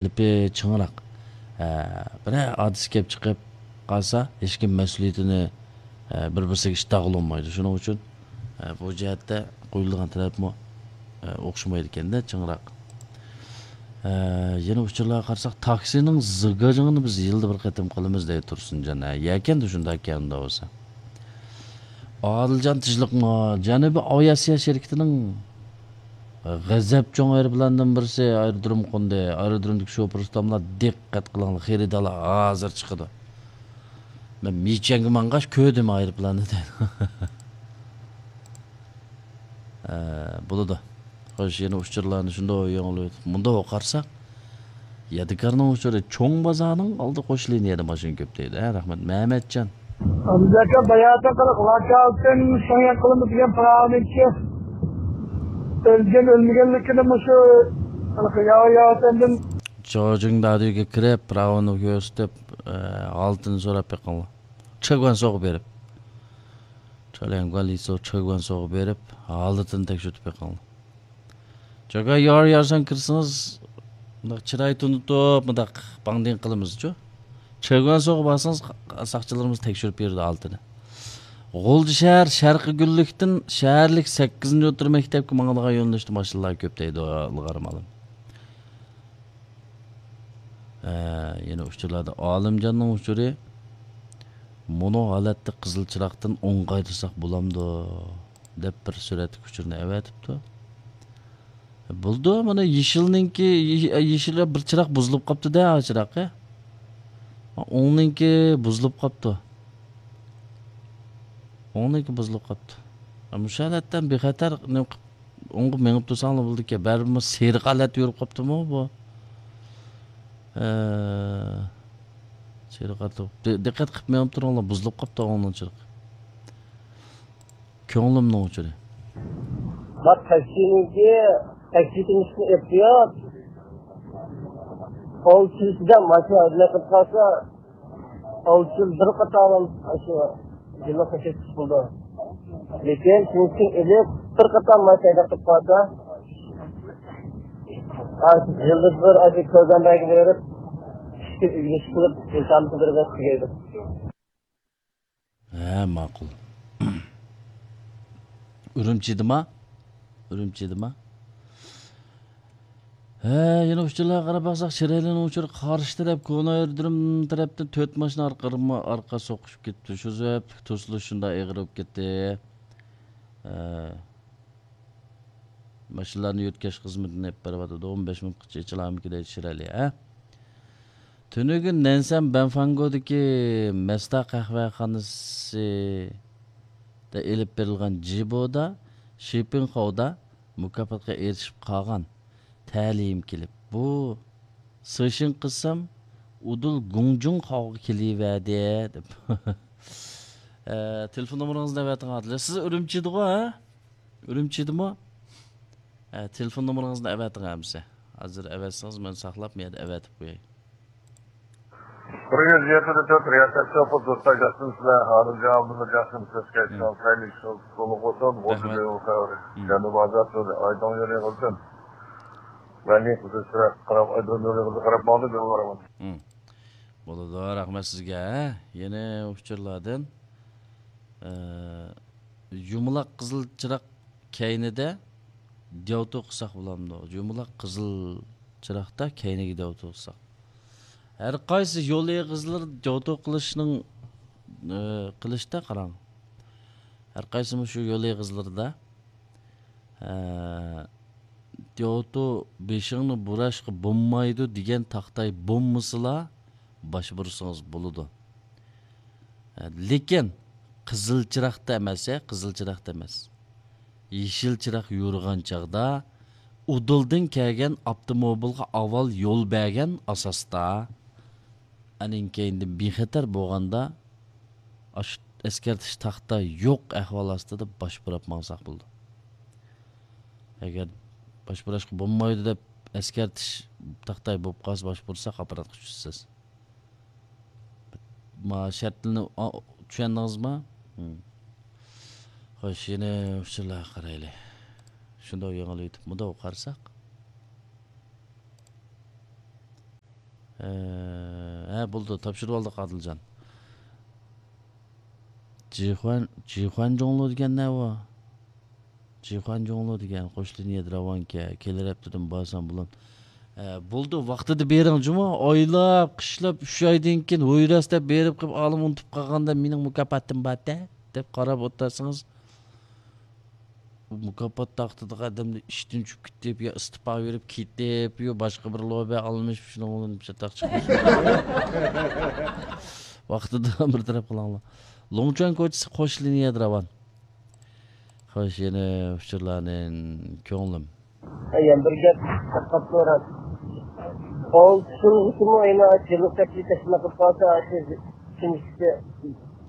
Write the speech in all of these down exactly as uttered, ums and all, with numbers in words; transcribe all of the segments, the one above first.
تەلىپى چىڭراق. ئە، بىرەر ھادىسە كەپ چىقىپ قالسا، ھېچكىم مەسئۇلىيىتىنى، ئە، بىر-بىرسىگە ئىشتاغلىمايدۇ. شۇنىڭ ئۈچۈن، ئە، بۇ جەھەتتە قويۇلىدىغان تەلەپمۇ، ئە، ئوخشىمايدىكەندە، چىڭراق. ئە، يەنە ئۇچۇرلارغا قارىساق، تاكسىنىڭ زىگاجىڭىنى بىز يىلدا بىر قېتىم قىلىمىز دەيدۇ تۇرسۇنجان. ھە، يەكەندە شۇنداق ئىكەن ئۇنداق بولسا. ئادىلجان تىجلىقمۇ جەنۇبىي ئاۋىئاتسىيە شىركىتىنىڭ غەزەپ چوڭ ئايروپىلاندىن بىرسى ئايرودرومغا قوندى. ئايرودرومدىكى شوپۇر ئۇستاملار دىققەت قىلىڭلار، خېرىدارلار ھازىر چىقىدۇ. مەن مىچيەنگە ماڭغاچ كۆردۈم ئايروپىلاننى دەيدۇ. ئە، بولىدۇ. خوش، يەنە ئۇچۇرلارنى شۇنداق يېڭىلىۋېتىپ، مۇنداق قارىساق، يادىكارنىڭ ئۇچۇرى چوڭ بازارنىڭ ئالدى قوش لىنىيەدە ماشىنا كۆپ دەيدۇ. ھە، رەھمەت، مەمەتجان. ئابدۇزاكا باياتىن قىلىق لاكالتىن شۇڭياق قىلىمىز دېگەن پىراۋىنچى ئۆلگەن ئۆلمىگەنلىكىنى مۇشۇ ياۋا ياۋا سەندىن. جوجىڭ دادۈگە كىرىپ، پىراۋىنى كۆرسىتىپ، ئە، ھالىتىنى سوراپ بېقىڭلار. چېگۋەنسوغا بېرىپ. چالياڭگۇەن لىسو چېگۋەنسوغا بېرىپ، ھالىتىنى تەكشۈرتۈپ بېقىڭلار. جاگا يار يارسان كىرسىڭىز، مۇنداق چىراي تونۇتۇپ، مۇنداق باڭدىڭ قىلىمىزچۇ. چېگۋەنسوغا بارسىڭىز، ساقچىلىرىمىز تەكشۈرۈپ بېرىدۇ ھالىتىنى. غۇلجا شەھەر شەرقىي گۈللۈكتىن شەھەرلىك سەككىزىنچى ئوتتۇرا مەكتەپكە ماڭىدىغان يۆنىلىشتە ماشىنىلار كۆپ دەيدۇ، ئىلغار مالىم. ھە، يەنە ئۇچۇرلاردا ئالىمجاننىڭ ئۇچۇرى، مۇنۇ ھالەتتە قىزىل چىراغدىن ئوڭغايدۇرساق بولامدۇ؟ دەپ بىر سۈرەتلىك ئۇچۇرنى ئەۋەتىپتۇ. بولىدۇ، مانا يېشىلنىڭكى، يېشىل بىر چىراغ بۇزۇلۇپ قاپتۇ-دە، ھا، چىراغ، ھە؟ ئوڭنىڭكى بۇزۇلۇپ قاپتۇ. ئوڭنىڭكى بۇزۇلۇپ قاپتۇ. مۇشۇ ھالەتتە بىخەتەر نېمە قىپ، ئوڭغا مېڭىپ تۇرساڭلا بولىدىكەن. بەرىبىرمۇ سېرىق ھالەتتە يۈرۈپ قاپتۇمۇ بۇ؟ ھە. سېرىق ھالەتتە. دى-، دىققەت قىپ مېڭىپ تۇرۇڭلار، بۇزۇلۇپ قاپتۇ ئوڭنىڭ چىرىقى. كۆڭلۈمنىڭ ئۇچۇرى. بار تاكسىنىڭكى، تاكسى تېمىسىنى ئېلىپ قويۇپ، ئالتە يۈزدە ماشىنا ئەدلەپ قىلىپ قالسا، ئالتە يۈز بىر قاتارلام ئاشۇ يىللىققا كەتكۈچ بولىدۇ. لېكىن شۇنىڭ ئۈچۈن ئېلىپ، بىر قاتار ماشىنا ئەدلەپ قىلىپ قالسا، ئاشۇ يىلدا بىر ئاشۇ كۆرگەن بەرگە بېرىپ، ئىككى كۈن ئۆگىنىش قىلىپ، ئىمتىھاننى بېرىپ تۈگەيدۇ. ھە، ماقۇل. ئۈرۈمچىدىما؟ ئۈرۈمچىدىما؟ ھە، يەنە ئۇچۇرلارغا قاراپ باقساق، شىرئەلىنىڭ ئۇچۇرى قارشى تەرەپ، كونا ئايرودروم تەرەپتىن تۆت ماشىنا ئارقا، ئارقا سوقۇشۇپ كېتىپتۇ. شۇ سەۋەبلىك توسۇلۇش شۇنداق ئېغىر بولۇپ كەتتى. ھە. ماشىنىلارنى يۆتكەش خىزمىتىنى ئېلىپ بېرىۋاتىدۇ. ئون بەش مىنۇتقىچە ئېچىلارمىكىن دەيدۇ شىرئەلى، ھە؟ تۈنۈگۈن نەنسەن بەنفاڭگودىكى مەستا قەھۋەخانىسىدا ئېلىپ بېرىلغان جىبودا شىپىڭخاۋدا مۇكاپاتقا ئېرىشىپ قالغان تەلىيىم كېلىپ، بۇ سېشىن قىلسام، ئۇدۇل گۇڭجۇڭ خاۋغا كېلىۋەردى، دەپ. ئە، تېلېفون نومۇرىڭىزنى ئەۋەتىڭ، ئادىل. سىز ئۈرۈمچىدىغۇ، ھە؟ ئۈرۈمچىدىمۇ؟ ئە، تېلېفون نومۇرىڭىزنى ئەۋەتىڭ ئەمىسە. ھازىر ئەۋەتسىڭىز، مەن ساقلاپ، مەيەردە ئەۋەتىپ قوياي. بىر يۈز يەتتە تۆت رىياسەت شوپۇر دوستلار جاقسىمسىلەر، ھازىر جاۋابىمىز جاقسىمسىز، كەچ مم. قالسايلى، شۇ تولۇق بولسۇن، ئوتتۇز رەھمەت. مىڭ خەۋىرى. مم. جەنۇب ئازاد يولى، ئايدىڭ يولى قىلسۇن. ۋەلى قىزىل چىراغ، قاراپ، ئايدىڭ يولى قىلسۇن، قاراپ ماڭدى، يول بارىمەن. مم. بولىدۇ، رەھمەت سىزگە. يەنە ئۇچۇرلاردىن، ئە، يۇمىلاق قىزىل چىراغ كەينىدە دياۋتۇ قىلساق بولامدۇ؟ يۇمىلاق قىزىل چىراغدا كەينىگە دياۋتۇ قىلساق. ھەر قايسى يول ئېغىزلىرى دياۋتۇ قىلىشنىڭ، ئە، قىلىشتا قاراڭ. ھەر قايسى مۇشۇ يول ئېغىزلىرىدا، ئە، دياۋتۇ بېشىڭنى بۇراشقا بولمايدۇ دېگەن تاختاي بولمىسىلا، باش بۇرسىڭىز بولىدۇ. ئە، لېكىن قىزىل چىراغدا ئەمەس، ھە، قىزىل چىراغدا ئەمەس. يېشىل چىراغ يورۇغان چاغدا ئۇدۇلدىن كەلگەن ئاپتوموبىلغا ئاۋۋال يول بەرگەن ئاساستا، ئانىڭ كەينىدىن بىخەتەر بولغاندا، ئاشۇ ئەسكەرتىش تاختا يوق ئەھۋال ئاستىدا باش بۇراپ ماڭساق بولىدۇ. ئەگەر باش بۇراشقا بولمايدۇ دەپ ئەسكەرتىش تاختاي بولۇپ قالسا، باش بۇرساق ئاپپاراتقا چۈشىسىز. ما شەرتلىرىنى، ئا، چۈشەندىڭىزما؟ ھىم. خوش، يەنە ئۇچۇرلارغا قارايلى. شۇنداق يېڭىلىۋېتىپمۇ قارىساق. ئە، ھە، بولدى، تاپشۇرۇۋالدۇق، ئادىلجان. جىخۇەن، جىخۇەن جۇڭلۇ دېگەن نە ئۇ؟ جىخۇەن جۇڭلۇ دېگەن قوش لىنىيەدە راۋانكەن، كېلەر ھەپتىدىن بارسام بولام. ئە، بولدى، ۋاقتىدا بېرىڭ جۇمۇ، ئايلاپ، قىشلاپ، ئۈچ ئايدىن كېيىن ھويراسلاپ بېرىپ قېلىپ، ئالىم ئۇنتۇپ قالغاندا مېنىڭ مۇكاپاتىم بار-دە، دەپ قاراپ ئولتۇرسىڭىز، مۇكاپات تاختىدىغا ئادەمدە ئىشتىن چۈشۈپ كېتىپ، يا ئىستېپا بېرىپ كېتىپ، يا باشقا بىر لوبى ئالمىشىپ، شۇنىڭ بىلەن چاتاق چىقىپ. ۋاقتىدا بىر تەرەپ قىلىڭلار. لوڭچۈەن كوچىسى قوش لىنىيەدە راۋان. خوش، يەنە ئۇچۇرلارنى كۆڭلۈم. يەنە بىر گەپ تارقاپ تۇرۇڭ. ئالتە يىلغىچىمۇ يەنە يىللىق تەكلىپ تەشكىل قىلىپ قالسا، شۇ كىمسىكى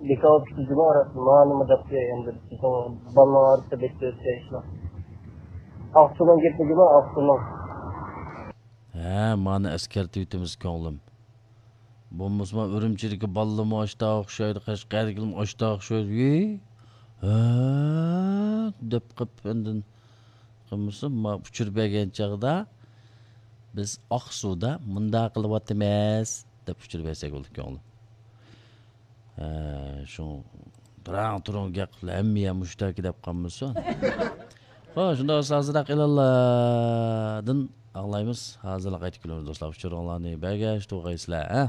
بىكار بولۇپ كېتىدىغۇ، راست مانىمۇ دەپ، ئەمدى بىزنىڭ بالىلار ئارىسىدا بەك ئۆتكەن ئىشلار. ئاقسۇنىڭ گېپىگىمۇ ئاقسۇنىڭ. ھە، مانا ئەسكەرتىۋېتىمىز كۆڭلۈم. بولمىسىمۇ ئۈرۈمچىدىكى بالىلىرمۇ ئاشتا ئوخشايدۇ، قەشقەردىكىلىرمۇ ئاشتا ئوخشايدۇ. ھە، دەپ قېلىپ ئاندىن قىلمىسا، ما ئۇچۇر بەرگەن چاغدا بىز ئاقسۇدا مۇنداق قىلىۋاتىمىز دەپ ئۇچۇر بەرسەك بولىدۇ كۆڭلۈم. ھە، شۇ تۇرۇڭ تۇرۇڭ گەپ قىلىپ ھەممە يەر مۇشتاكى دەپ قالمىسۇن. خوش، شۇنداق بولسا ھازىرراق ئېلانلاردىن ئاڭلايمىز. ھازىرلا قايتىپ كېلىمىز دوستلار. ئۇچۇرۇڭلارنى بەرگەچ تۇرغايسىلەر، ھە؟